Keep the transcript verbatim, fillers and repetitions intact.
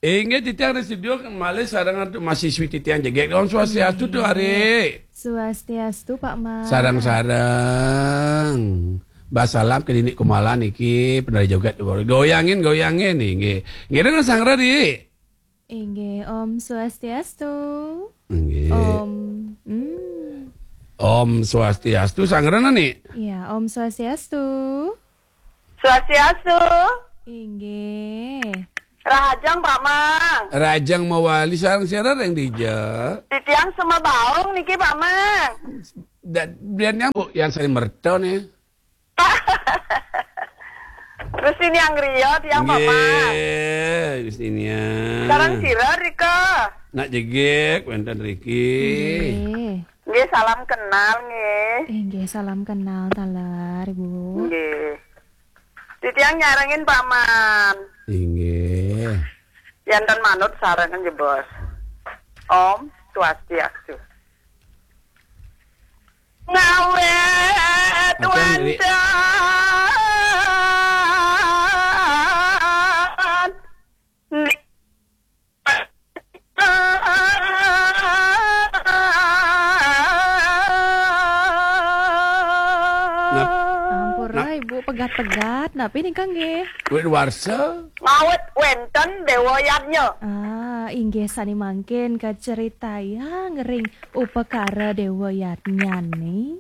Inggih, titiang ring studio malih sareng antuk mahasiswi titiang jegég. Om Swastiastu, Tu Ari. Swastiastu, Pak Mas. Sareng-sareng. Bas salam ké Didik Kumala niki, penari joget. Goyangin, goyangin, inggih. Nggih, sareng-sareng, Dik. Inggih, Om Swastiastu. Inggih. Om. Hmm. Om Swastiastu, sareng-sareng, Nik. Ya, Om Swastiastu. Swastiastu. Inggih. Rahajeng, Pak Mang. Rahajeng mawali, sareng-sareng ring dija. Titiang Sema Baung niki, Pak Mang. Dan biar nyambung yang saya merton ya. Gusti Niang Rio, tiang Pak Mang. Nggih, Gusti Niang. Sareng sira rika. Nak jegég wénten riki. Inggih. Nggih, salam kenal nggih. Inggih, salam kenal taler, Ibu. Nggih. Titiang nyarengin Pak Man. Inggih. Yanten manut sareng jebos. Om Swastiastu. Ngawet Apa, Dik? Wénten. Nap- Ampura, Ibu, pegat-pegat. Napi nika nggih? Wit warsa. Ngawet wénten Dewa Yadnya. Ah, inggih sane mangkin kaceritayang ring upakara Dewa Yadnyane.